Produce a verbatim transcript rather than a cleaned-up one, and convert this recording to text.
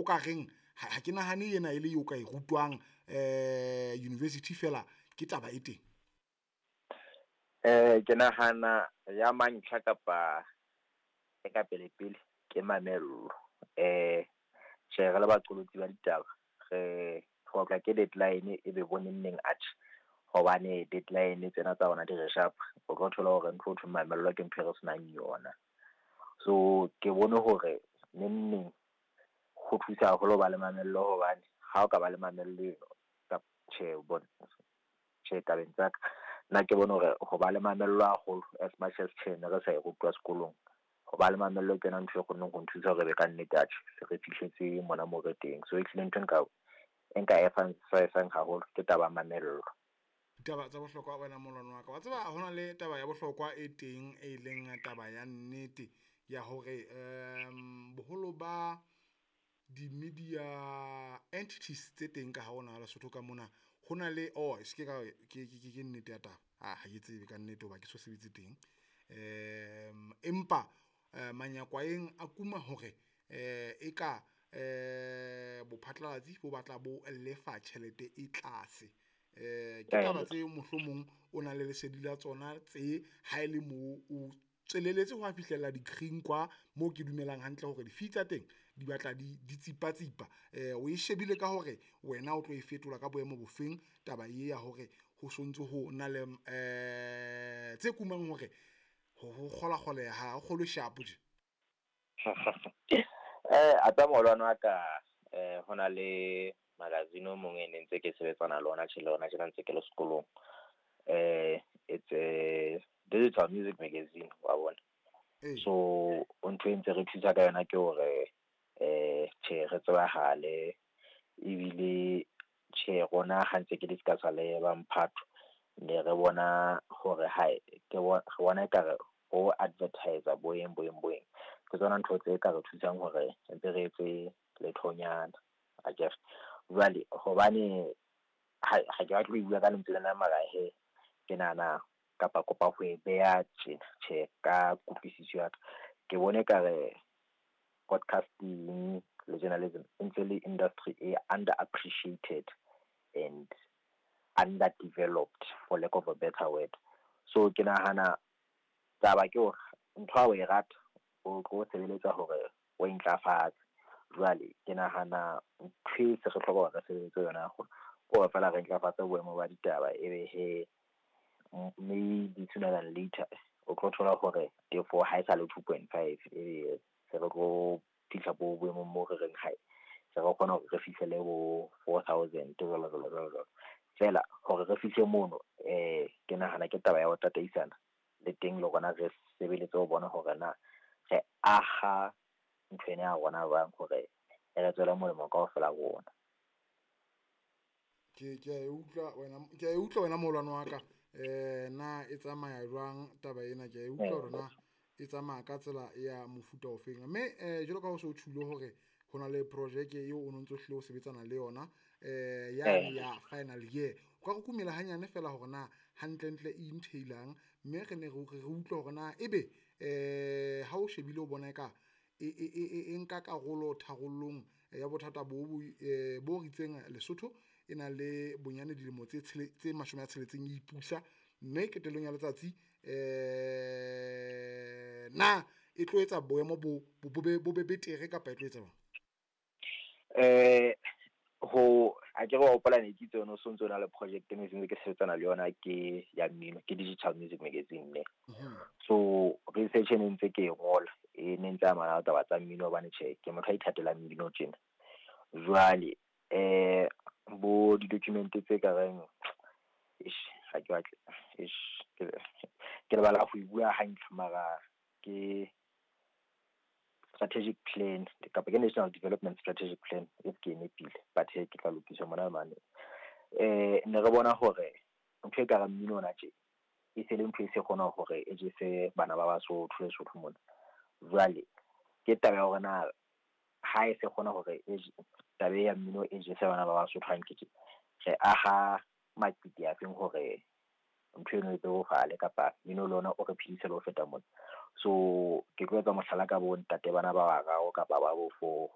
o ka reng ha ke nahane ena e le eo ka e rutwang eh university fela ke taba e teng. Eh ke nahana ya mantlha kapa e ka pele pele ke mamello. Eh tjhe, re le baqolotsi ba ditaba re hloka ke deadline e be boneng neng atjhe, hobane deadline tsena tsa rona di re sharp. O tlo thola hore ntho ho thweng mamello ke ntho e re senang yona. So ke bone hore neng neng ho thusa haholo ho ba le mamello, hobane ha o ka ba le mamello eno kapa tjhe bona tjhe tabeng tsa ka nna ke bone hore ho ba le mamello haholo as much as tjhe ne re sa e rutwa sekolong, ho ba le mamello ke yona ntho e kgonneng ho nthusa hore be ka nnete atjhe se re fihletse mona mo re teng. So ehlile ntho e nka e nka emphasizang haholo ke taba ya mamello. Ditaba tsa bohlokwa wena molwana wa ka, wa tseba hona le taba ya bohlokwa e teng e leng taba ya nnete ya hore um boholo ba di-media entities tse teng ka ha ona Lesotho ka mona ho na le oh se ke ka ke ke ke nnete ya taba ha ha ke tsebe ka nnete hoba ke so sebetse teng. Um empa manyakwaeng a kuma hore eh e ka eh bophatlalatsi bo batla bo lefa tjhelete e tlase. Eh ke taba tse mohlomong o na le lesedi la tsona tse ha ele mo o tsweleletse ho fihlella di-green kwa mo ke dumelang hantle hore di-fee tsa teng di batla di di tsipa-tsipa. Eh o e shebile ka hore wena o tlo e fetola ka boemo bofeng taba e ya hore ho sontso ho na le eh tse kumang hore ho kgola kgoleha ha o kgolwe sharp tje. Eh a tsa moholwane wa ka eh hona le magazine o mong e ne ntse ke sebetsana le ona tjhe le ona tjena ntse ke le sekolong. Eh it's a digital music magazine wa bona. So ntho e ntse re thusa ka yona ke hore eh tjhe re tsebahale, ebile tjhe rona ha ntse ke discuss-a le ba mphato ne re bona hore hae ke re bona ekare ho advertise boeng boeng boeng ke tsona ntho tse ka re thusang hore ntse re etse lethonyana akere. Jwale hobane ha ha ke batle ho bua ka lentswe lena mara he ke nahana kapa kopa ho e beha tjena tjhe ka kutlwisiso ya ka ke bone ekare podcasting le journalism e ntse le industry e under appreciated and underdeveloped for lack of a better word. So ke nahana taba ke hore ntho ha o e rata o tlo sebeletsa hore o e ntlafatse. Jwale ke nahana ntho e se re hloka hore re sebeletse yona haholo ke hore feela re ntlafatse boemo ba ditaba, ebe he maybe sooner than later o tlo thola hore tefo ha e sa le two point five ebe se re tlo fihla bo boemong mo re reng hae se re kgona hore re fihlele bo four thousand jwalo jwalo jwalo jwalo. Feela hore re fihle mono eh ke nahana ke taba ya ho tataisana le teng le rona re sebeletse ho bona hore na re aha ntho ena ya rona jwang hore e re tswele molemo kaofela rona. Ke ke a e utlwa wena, ke a e utlwa wena moholwane wa ka. Eh na e tsamaya jwang taba ena, ke a e utlwa hore na e tsamaya ka tsela ya mofuta ofeng. Mme eh jwalo ka ha o so tjhulo hore ho na le projeke eo o no ntso hlile o sebetsana le yona eh yane ya final year, o ka re kumela hanyane fela hore na hantlentle e entail-ang, mme re ne re re utlwa hore na ebe eh ha o shebile o bona eka e e e e nka karolo tharollong ya bothata bo bo bo ritseng Lesotho e na le bonyane dilemo tse tse mashome a tsheletseng e ipusa, mme qetellong ya letsatsi eh na e tlo etsa boemo bo bo be bo be betere kapa e tlo etsa jwang? Eh ho a ke re wa hopola ne ke itse o so ntso na le project e ne ke sebetsana le yona ke ya mmino, ke digital music magazine ne. So research e ne ntse ke e ngola e ne ntse amana le taba tsa mmino hobane tjhe ke motho a ithatelang mmino tjena. Jwale eh bo di-document tse ka reng eish ha ke batle eish ke ke lebala ho e bua hantle mara ke strategic plan kapa ke National Development Strategic Plan if ke nepile, but he ke tla lokisa mona mane. Eh ne re bona hore ntho e ka reng mmino ona tje e se le ntho e se kgona hore e jese bana ba Basotho Lesotho mona. Jwale ke taba ya hore na ha e se kgona hore e taba ya mmino e jese bana ba Basotho hantle tje, re aha maqiti a feng hore ntho eno e bebofale kapa mmino le ona o re phedise le ho feta mona. So ke tlo etsa mohlala ka bo ntate bana ba bararo kapa ba bo four.